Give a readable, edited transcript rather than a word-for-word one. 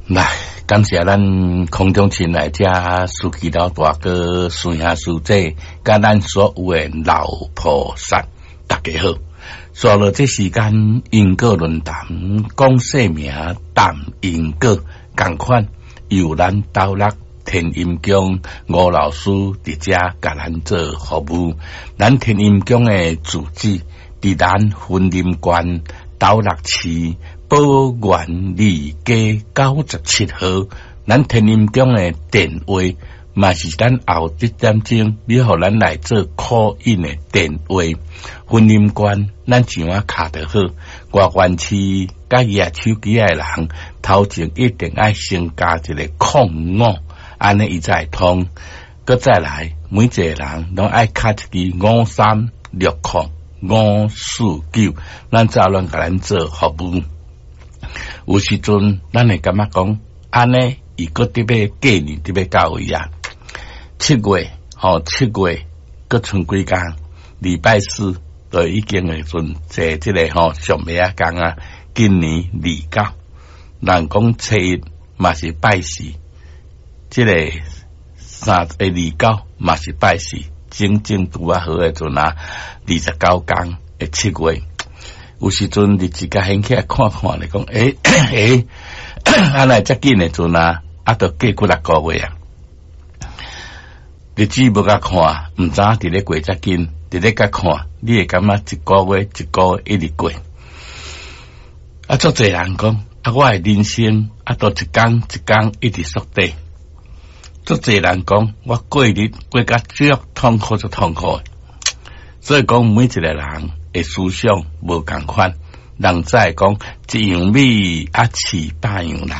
來，感謝咱空中親愛遮司機老大哥、師兄師姐，佮咱所有的老菩薩，大家好。煞落這時間因果論壇講姓名談因果，仝款由咱斗笠天陰宮吳老師佇遮共咱做服務。咱天陰宮的住址佇咱雲林縣斗六市寶源二街97號。咱天陰宮的電話嘛是咱後一點鐘，你予咱來做 call in 的電話。雲林縣咱上仔敲就好，外縣市佮舉手機的人，頭前一定愛先加一個05，按呢伊才會通。閣再來，每一個人攏愛敲一支5360549，咱才亂共咱做服務。有時陣，咱會感覺講，按呢伊閣佇欲過年佇欲到位啊？7月吼，7月閣賰幾工，禮拜四就已經會陣坐這個吼上尾仔工啊。今年29，人講初一嘛是拜四，這個三29嘛是拜四，整整拄仔好的陣啊，29工的七月。有時陣日子共掀起來看看咧，講欸欸，按呢遮緊的陣啊，啊，都過幾若個月啊。日子無共看，毋知影佇咧過遮緊，佇咧共看，你會感覺一個月一個月一直過。啊，足濟人講，啊，我的人生啊，都一工一工一直縮短。足濟人講，我過日過甲足痛苦，足痛苦。所以講，每一個人的思想無仝款，人才會講一樣米啊飼百樣人。